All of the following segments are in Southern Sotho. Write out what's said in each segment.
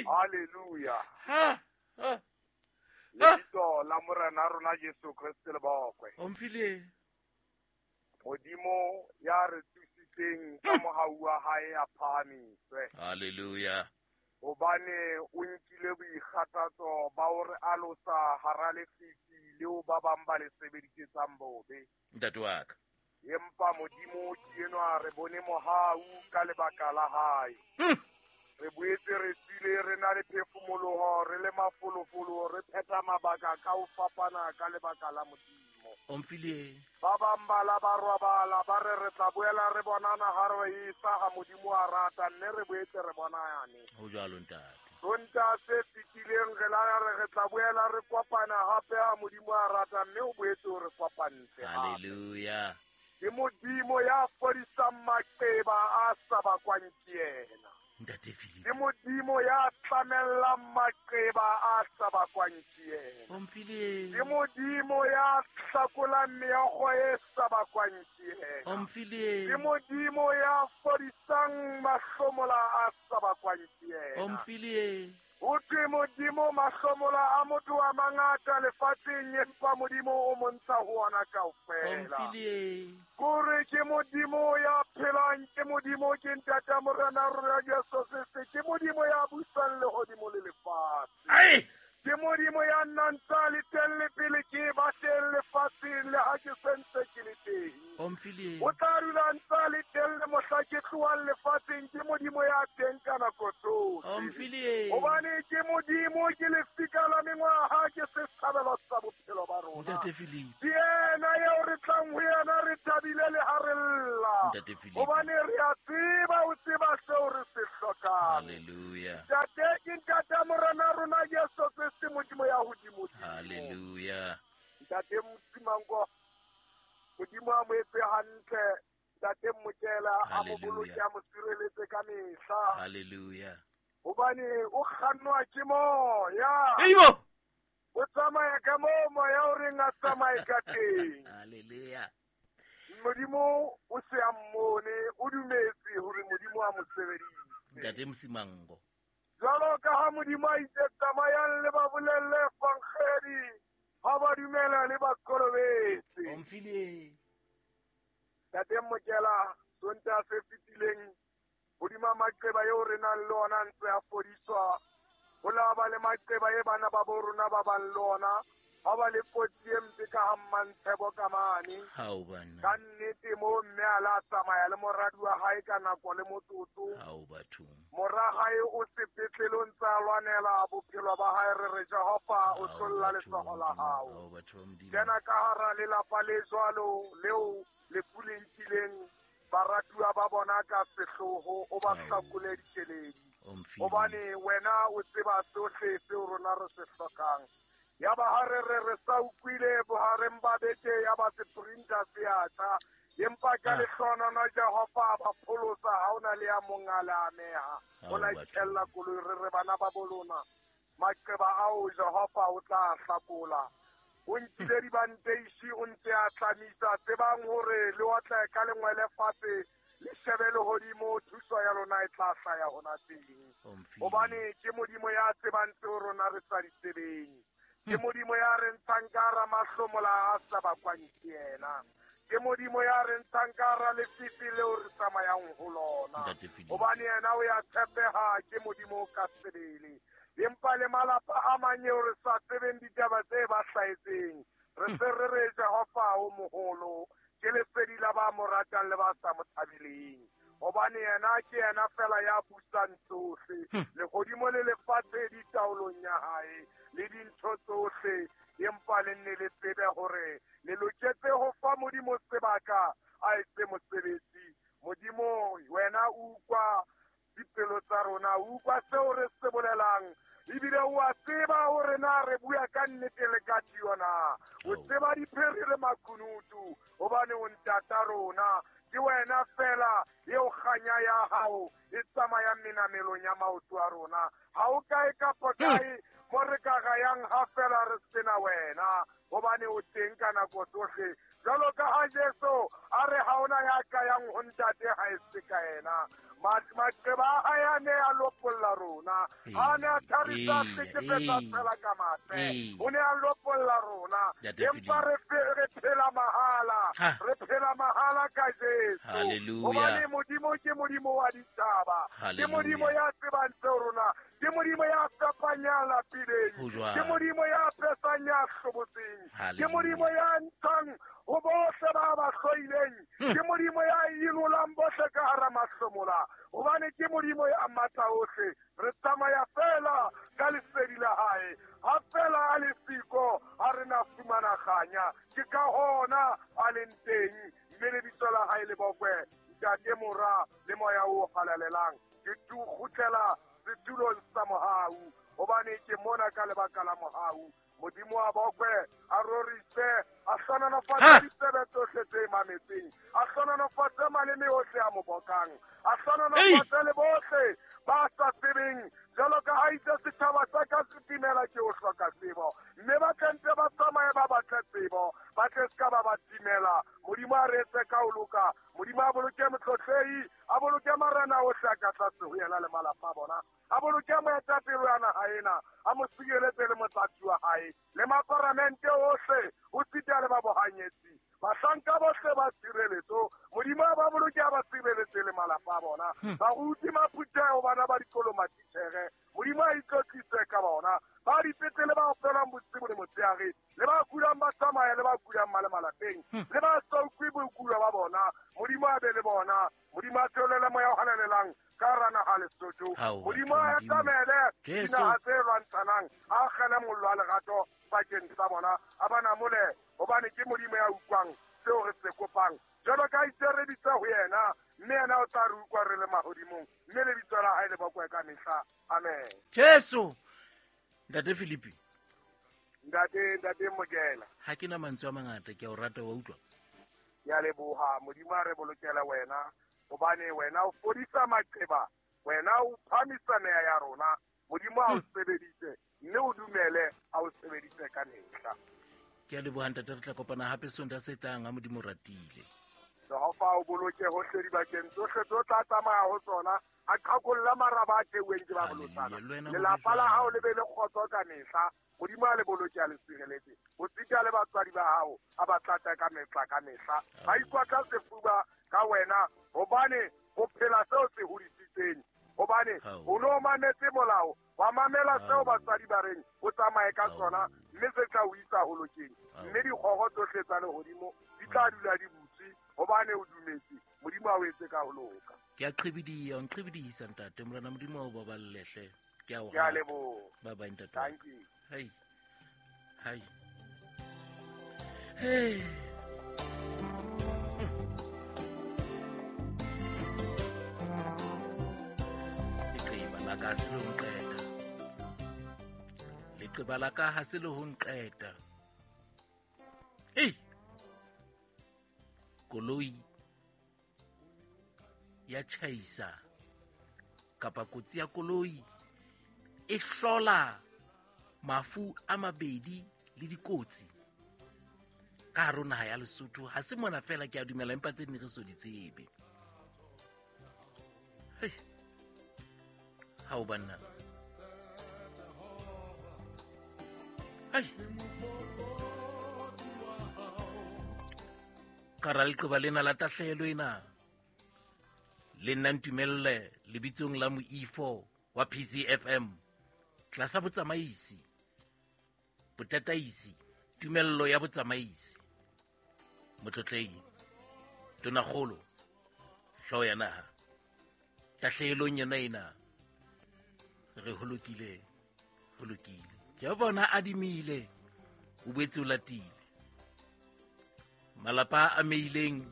Hallelujah. Lebitso la Morena rona Jesu Kriste le bokwe. Omphile. Modimo ya re tsositseng ka mohau wa hae a phahamiswe. Hallelujah. Hobane o nkile boikgathatso ba ho re alosa hara lefifi leo ba bang ba le sebedisetsang bobe. Ntate wa ka. Empa Modimo ke enwa re bone mohau ka lebaka la hae. Re boetse re tswile re na le phefumoloho, re le mafolofolo, re phetha mabaka ka ho fapana ka lebaka la Modimo. Omphile. Ba bang ba la ba robala, ba re re tla boela re bonana ha re isa ha Modimo a rata, mme re boetse re bonane. Ho jwalo ntate. Sontaha se fetileng re la re re tla boela re kopana hape ha Modimo a rata, mme o boetse o re kopantse hape. Hallelujah. Ke Modimo ya fodisang maqeba a sa bakwang ke yena. Ntate Philip. Ke Modimo ya tlamellang maqeba a sa bakwang ke yena. Omphile. Ke Modimo ya hlakolang meokgo e sa bakwang ke yena. Omphile. Ke Modimo ya fodisang mahlomola a sa bakwang ke yena. Omphile. Ho thwe Modimo mahlomola a motho a mangata lefatsheng, empa Modimo o mo ntsha ho ona kaofela. Omphile. Kore ke Modimo ya phelang, ke Modimo, ke Ntata Morena rona Jesu Kriste, ke Modimo ya busang lehodimo le lefatshe. Ai! Ke Modimo ya nnang tsa le teng le pele ke ba teng lefatsheng, le ha ke sentse ke le teng. Omphile. O tla dula ntsa le teng le mohla ke tlohang lefatsheng, ke Modimo ya teng ka nako tsohle. Omphile. Hobane ke Modimo, ke lefika la mengwaha, ke setshabelo sa bophelo ba rona. Ntate Philip. Ke yena eo re tlang ho yena re thabile le ha re lla. Ntate Philip. Hobane re a tseba, o tseba seo re se hlokang. Hallelujah. Ntate ke Ntata Morena rona Jesu Kriste, Modimo ya hodimodimo. Hallelujah. Ntate Mosimango, Modimo a mo etse hantle. Ntate Mokela a mo Hallelujah. boloke, a mo sireletse ka mehla. Hallelujah. Hobane o kgannwa ke moya. Eibo. O tsamaya ka moo moya o reng a tsamaye ka teng. Hallelujah. Modimo o se a mmone, o dumetse hore Modimo a mo sebedise. Ntate Mosimango. Jwalo ka ha Modimo a itse tsamayang le ba bolelle evangeli, ha ba dumela le ba kolobetse. Omphile. Ntate Mokela, Sontaha se fetileng, hodima maqeba eo re nang le ona a ntse a fodiswa. Ho la ba le maqeba e bana ba bo rona ba bang le ona, ha ba le kotsi e mpe ka ha Mmantshebo ka mane. Hao bana. Ka nnete moo mme a la tsamaya le moradi wa hae ka nako le motsotso. Hao bathong. Mora hae o sepetlele o ntse a lwanela bophelo ba hae, re re Jehova o Hao hlolla batho ba letsoho la Modimo. hao. Hao batho ba Modimo. Kena ka hara lelapa le jwalo leo lefu le nkileng baratuwa ba bona ka sehloho, o ba Ao. hlakole dikeledi. Omphile. Hobane wena o tseba sohle seo rona re se hlokang. Ya ba ha re re re sa utlwile bohareng ba beke, ya ba seprinta se a tjha. Empa ka Ah. lehlohonolo Jehova a ba pholosa, ha hona le ya mong a le ameha. Ao, O la batho. itjhella koloi, re re bana ba bo lona, maqeba ao Jehova o tla hlakola. O nkile dibanteishi, o ntse a tlamisa, tsebang hore le otle ka lengwele fatshe, le shebe lehodimo, thuso ya lona e tla hlaya hona teng. Omphile. Hobane ke Modimo ya tsebang tseo rona re sa di tsebeng. Ke Modimo ya re ntshang ka hara mahlomola a sa bakwang ke yena. Ke Modimo ya re ntshang ka hara lefifi leo re tsamayang ho lona. Ntate Philip. Hobane yena o ya tshepeha, ke Modimo ka sebele. Empa le malapa a mang eo re sa tsebeng ditaba tse ba hlahetseng, re se re re Jehova o moholo, ke lesedi la ba mo ratang le ba sa mo thabeleng. Hobane yena ke yena fela ya busang tsohle. Lehodimo le lefatshe di taolong ya hae, le dintho tsohle. Empa le nne le tsebe hore le loketse ho fa Modimo sebaka a etse mosebetsi. Modimo, wena o utlwa dipelo tsa rona, o utlwa seo re se bolelang, ebile o a tseba hore na re bua ka nnete le ka tio na. O Ao. tseba diphiri le makunutu, hobane o ntata rona. Ke wena fela eo kganya ya hao e tsamayang menamelong ya maoto a rona. Ha o kae kapa kae mo re ka gayang ha fela re sena wena, hobane o teng ka nako tsohle. Jwalo ka ha Jesu a re ha hona ya ka yang ho ntate ha e se ka yena. Maqeba a hae a ne a lopolla rona. A ne a tharisa hlekefetsa fela ka mathe. O ne a lopolla rona. Empa re phela mahala. Re phela mahala ka Jesu. Hobane Modimo ke Modimo wa ditjhaba. Ke Modimo ya tsebang tseo rona. Ke Modimo ya fepang ya lapileng. Ke Modimo ya pesang ya hlobotseng. Ke Modimo ya ntshang ho bohle ba ba hloileng. Ke Modimo ya inolang bohle ka hara mahlomola. Hobane ke Modimo ya matla ohle. Re tsamaya fela ka lesedi la hae. Ha fela a le siko, ha re na fumana kganya. Ke ka hona a leng teng. Mme lebitso la hae le bokwe. Ntate, Mora le Moya o Halalelang. Ke kgutlela setulong sa mohau. Hobane ke mona ka lebaka la mohau. Modimo a bokwe, a rorise, a hlohonolofatse ditsebe tsohle tse mametseng, a hlohonolofatse maleme ohle a mo bokang, a hlohonolofatse le bohle ba sa tsebeng, jwalo ka ha itse setjhaba sa ka se timela ke ho hloka tsebo. Mme ba tle ntse ba tsamaye ba batle tsebo, ba tle se ka ba ba timela. Modimo a re etse ka ho loka. Modimo a boloke motlotlehi, a boloke marena ohle a ka tlase ho yena le malapa a bona. A boloke moetapele wa naha ena, a mo sireletse le motlatsi wa hae, le maparamente ohle, ho sita le ba bohanyetsi. Bahlanka bohle ba tshireletso, Modimo a ba boloke a ba sireletse le malapa a bona. Baruti, maphutheho, bana ba dikolo, matitjhere, Modimo a itlotlise ka bona. Ba dipetlele ba opelang bosibu le motshehare, le ba kulang ba tsamaya, le ba kulang ba le malapeng, le ba sa utlwe boikulo ba bona, Modimo a be le bona. Modimo a theolele Moya o Halalelang ka hara naha Lesotho. Modimo a etamele dinaha tse lwantshanang, a akgele mollo wa lerato bakeng sa bona, a ba namole, hobane ke Modimo ya utlwang seo re se kopang. Jwalo ka itse re bitse ho yena, mme yena o tla re utlwa re le mahodimong, mme lebitso la hae le bokwe ka mehla. Amen. Jesu. Ntate Philippi. Ntate Mokela. Ha ke na mantswe a mangata, ke a o rata, wa utlwa. Ke a leboha. Modimo a re bolokele wena, hobane wena o fodisa maqeba, wena o phamisa meya ya rona. Modimo a o sebedise, mme o dumele a o sebedise ka mehla. Ke a leboha ntate, re tla kopana hape Sontaha se tlang ha Modimo ratile. Jehova o boloke hohle dibakeng tsohle tse o tla tsamaya ho tsona, a qhakolla maraba a teuweng ke ba bolotsana. Lelapa la hao le be le kgotso ka mehla. Modimo a le boloke a le sireletse. Ho sita le batswadi ba hao a ba tlatse ka mehla ka mehla. Ba ikwatla sefuba ka wena, hobane ho phela seo se hodisitseng. Hobane o no mametse molao, wa mamela seo batswadi ba reng o tsamaye ka sona, mme se tla o isa ho lokeng. Mme dikgoro tsohle tsa lehodimo di tla dula di butswe, hobane o dumetse. Modimo a o etse ka ho loka. Ke a qhibidiya, o nqhibidisa ntate. Morena Modimo a o baballehle. Ke a o Ke a leboha. Bye bye ntate. Thank you. Hey. Hey. Hey. Leqeba la ka se le ho nqeta. Leqeba la ka ha se le ho nqeta. Hey. Koloi ya tjhaisa kapa kotsi ya koloi e hlola mafu a mabedi le dikotsi ka hare ho naha ya Lesotho. Ha se mona fela, ke a dumela, empa tse ding re so di tsebe. Hei. Ha o banna. Hei. Ka ra leqeba lena la tahlehelo ena, le nna ntumelle lebitsong la moifo wa PCFM tlasa botsamaisi, botataisi, tumello ya botsamaisi, motlotlehi, tonakgolo, hlooho ya naha, tahlehelong yona ena re ho lokile, ho lokile. Jehova ona adimile, o boetse o latile. Malapa a ameileng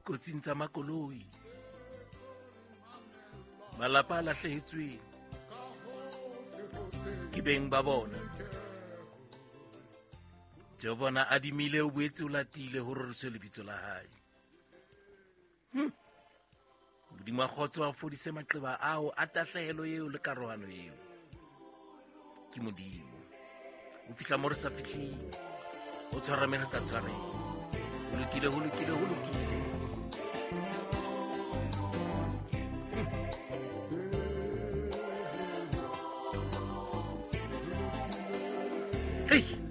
kotsing tsa makoloi, malapa a lahlehetsweng ke beng ba bona. Jehova ona adimile, o boetse o latile, ho roriswe lebitso la hae. Modimo a kgotso a fodise maqeba ao a tahlehelo eo le karohano eo. Ke Modimo. O fihla mo re sa fihleng, o tshwara me re sa tshwareng. Ho lokile, ho lokile, ho lokile. Hei.